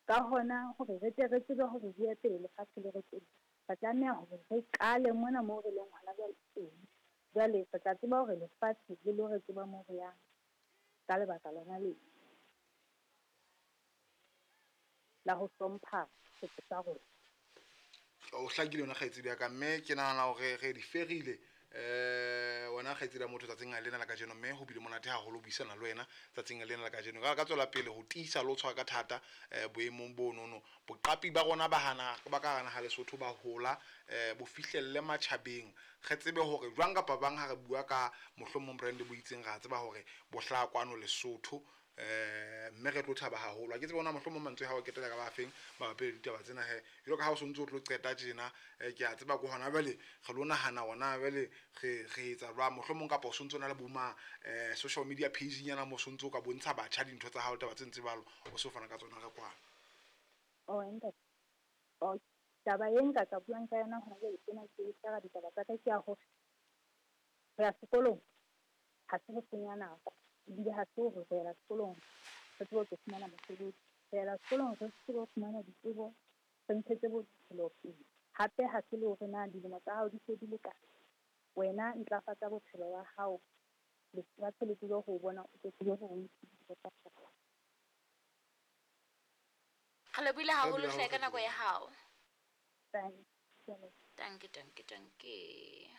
Ka hona, hore re tle re tsebe hore re ye pele lefatshe le re tsebe, re tlameha hore re qale mona moo re leng hona jwale teng. Jwale re tla tseba hore lefatshe le lo re tseba moo re yang ka lebaka lona lena la ho hlompha setso sa rona. O hlakile yona kgaitsedi ya ka, mme ke nahana hore re di ferile um wena kgaitsedi ya motho tsatsing lena la kajeno, mme ho bile monate haholo ho buisana le wena tsatsing lena la kajeno. Ka ka tswela pele ho tiisa le ho tshwara ka thata um boemong bonono. Boqapi ba rona ba hana ba ka hara naha Lesotho ba hola um bo fihlelle matjhabeng. Re tsebe hore jwang kapa bang ha re bua ka mohlomong brand bo itseng, ra tseba hore bo hlaha kwano Lesotho. Um mme re tlo thaba haholo. Ha ke tsebe hore na mohlomong mantswe ha o ketela ka ba feng mabapi le ditaba tsena he. Jwalo ka ha o so ntso o tlo qeta tjena, ke a tseba ko hona jwale re lo nahana hore na jwale re re etsa jwang. Mohlomong kapa o sontso o na le bo ma social media page nyana mo sontso o ka bontsha batjha dintho tsa hao taba tse ntse jwalo, o so fana ka tsona re kwano. Oh ntate. Oh, taba e nka ka buang ka yona hona jwale tjena ke shera ditaba tsa ka ke ya hore ho ya sekolong ha se ho senya nako, ebile ha se hore re yela sekolong re tsebe ho tlo fumana mosebetsi. Re yela sekolong re tsebe ho fumana ditsebo, re ntshetse bophelo pele. Hape ha se le hore na dilemo tsa hao di se di le kae. Wena ntlafatsa bophelo ba hao, lefatshe le tsebe ho o bona, o tlo tsebe hore o iphedise ka. Re lebohile haholo hle ka nako ya hao. Danke, danke, danke.